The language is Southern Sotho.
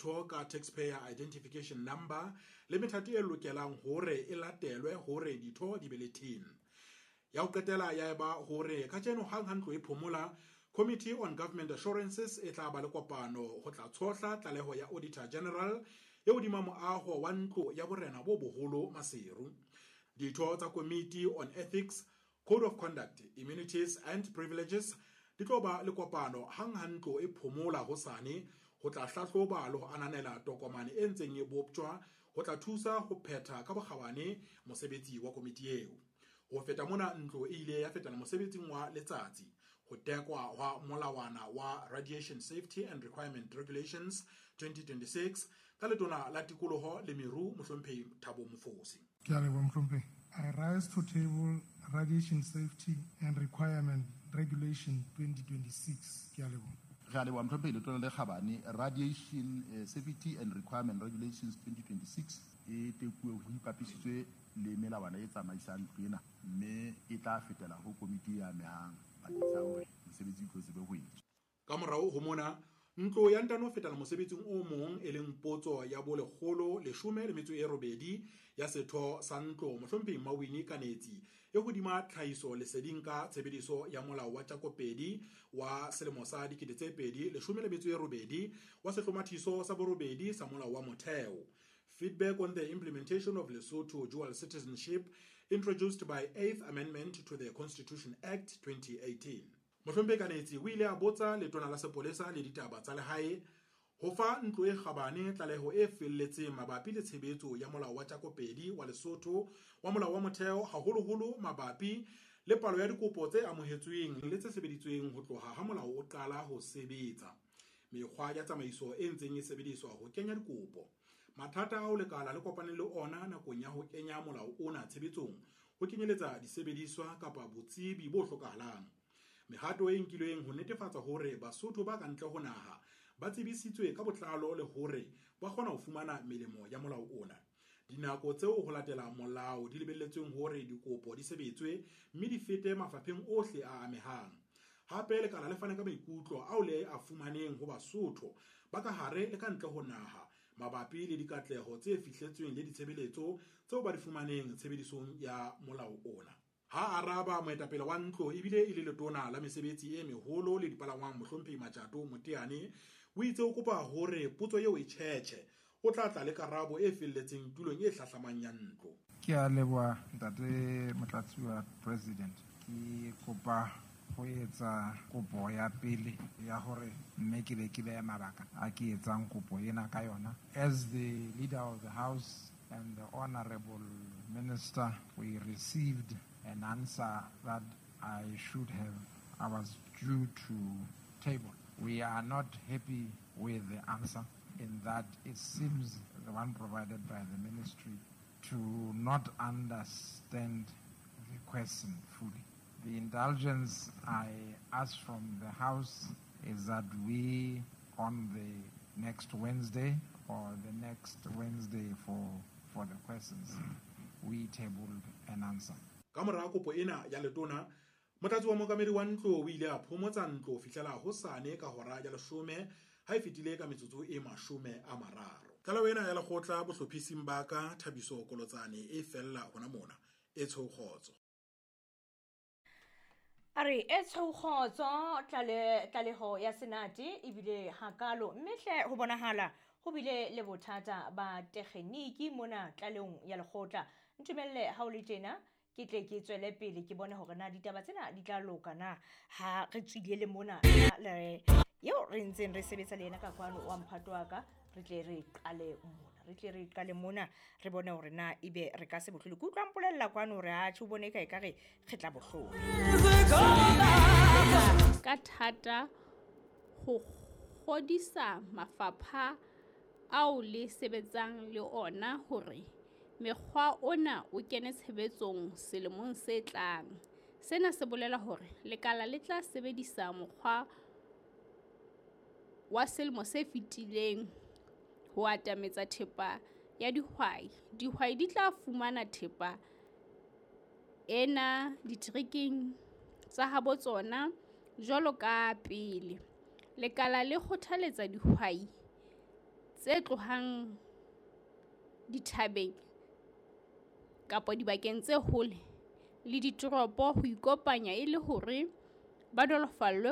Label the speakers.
Speaker 1: ditho ka Taxpayer Identification Number le methati e lokelang hore e latelwe hore ditho di be le TIN. Ya ho qetela ya eba hore kajeno hang ha ntlo e phomola, Committee on Government Assurances e tla ba le kopano ho tla tshohla tlaleho ya Auditor General e hodima moaho wa ntlo ya borena bo boholo Maseru. Ditho tsa Committee on Ethics, Code of Conduct, Immunities and Privileges di tlo ba le kopano hang ha ntlo e phomola hosane ho tla hlahloba le ho ananela tokomane e ntseng e boptjwa ho tla thusa ho phetha ka bokgabane mosebetsi wa komiti eo. Ho feta mona, ntlo e ile ya fetela mosebetsing wa letsatsi ho tekwa hwa molawana wa Radiation Safety and Requirement Regulations 2026 ka letona la tikoloho le meru mohlomphehi Thabo Mofosi.
Speaker 2: Ke a leboha, mohlomphehi. I rise to table Radiation Safety and Requirement Regulation 2026. Ke a leboha.
Speaker 3: Re a leboha, mohlomphehi Letona le Kgabane. Radiation Safety and Requirement Regulations 2026 e tekuwe ho ipapisitswe le melawana e tsamaisang ntlo ena, mme e tla fetela ho komiti e amehang bakeng sa hore mosebetsi o tlo tsebe ho etswa.
Speaker 1: Ka morao ho mona, ntlo ya ntano fetela mosebetsing o mong e leng potso ya bo 118 ya setho sa ntlo mohlomphehi Mawini Kanetsi e hodima tlhahiso leseding ka tshebediso ya molao wa Tjakopedi wa selemo sa 2018 wa sehlomathiso sa borobedi sa molao wa motheo. Feedback on the implementation of Lesotho dual citizenship introduced by 8th Amendment to the Constitution Act 2018. Mohlomphehi Kanetsi o ile a botsa letona la sepolesa le ditaba tsa lehae ho fa ntlo e kgabane tlaleho e felletseng mabapi le tshebetso ya molao wa Tjakopedi wa Lesotho wa molao wa motheo, haholoholo mabapi le palo ya dikopo tse amohetsweng le tse sebeditsweng ho tloha ha molao o qala ho sebetsa, mekgwa ya tsamaiso e ntseng e sebediswa ho kenya dikopo, mathata ao lekala le kopaneng le ona nakong ya ho kenya molao ona tshebetsong ho kenyeletsa disebediswa kapa botsebi bo hlokahalang, mehato e nkilweng ho netefatsa hore Basotho ba ka ntle ho naha ba tsebisitswe ka botlalo le hore ba kgona ho fumana melemo ya molao ona, dinako tseo ho latela molao di lebelletsweng hore dikopo di sebetswe mme di fete mafapheng ohle a amehang. Hape lekala le fane ka maikutlo ao le a fumaneng ho Basotho ba ka hare le ka ntle ho naha mabapi le dikatleho tse fihletsweng le ditshebeletso tseo ba di fumaneng tshebedisong ya molao ona. Ha araba moetapele wa ntlo ebile e le letona la mesebetsi e meholo le dipalangwang mohlomphehi Matjato Moteane o itse o kopa hore potso eo e tjhetjhe, o tla tla le karabo e felletseng tulong e hlahlamang ya ntlo.
Speaker 4: Ke a leboha ntate Motlatsi wa President. Ke kopa ho etsa kopo ya pele ya hore mme ke be ke behe mabaka a ke etsang kopo ena ka yona. As the leader of the house and the honorable minister, we received an answer that I was due to table. We are not happy with the answer in that it seems the one provided by the ministry to not understand the question fully. The indulgence I ask from the House is that we, on the next Wednesday or the next Wednesday for the questions, we tabled an answer.
Speaker 1: Ka mora kopo ena ya letona, motlatsi wa mookamedi wa ntlo o ile a phomotsa ntlo ho fihlela hosane ka hora ya 10 ha e fetile ka metsotso e 30. Tlaleho ena ya lekgotla bohlophising ba ka Thabiso Kolotsane e fella hona mona. E tshweu kgotso.
Speaker 5: A re e tshweu kgotso tlaleho ya Senate ebile hakalo, mme hle ho bonahala ho bile le bothata ba tekgeniki mona tlalehong ya lekgotla. Ntumelle ha o le tjena ke tle ke tswele pele ke bone hore na ditaba tsena di tla loka na ha re tswile le mona le eo re ntseng re sebetsa le yena ka kwano wa mphato wa ka, re tle re qale mona, re tle re qale mona re bone hore na ebe re ka se bohlole. Ke utlwa mpolella kwano hore atjhe o bone e ka re re tla bohlole.
Speaker 6: Ka thata ho kgodisa mafapha ao le sebetsang le ona hore mekgwa ona o kene tshebetsong selemong se tlang. Sena se bolela hore lekala le tla sebedisa mokgwa wa selemo se fetileng ho atametsa thepa ya dihwai. Dihwai di tla fumana thepa ena diterekeng tsa habo tsona jwalo ka pele. Lekala le kgothaletsa dihwai tse tlohang dithabeng kapa dibakeng tse hole le ditoropo ho ikopanya e le hore ba nolofallwe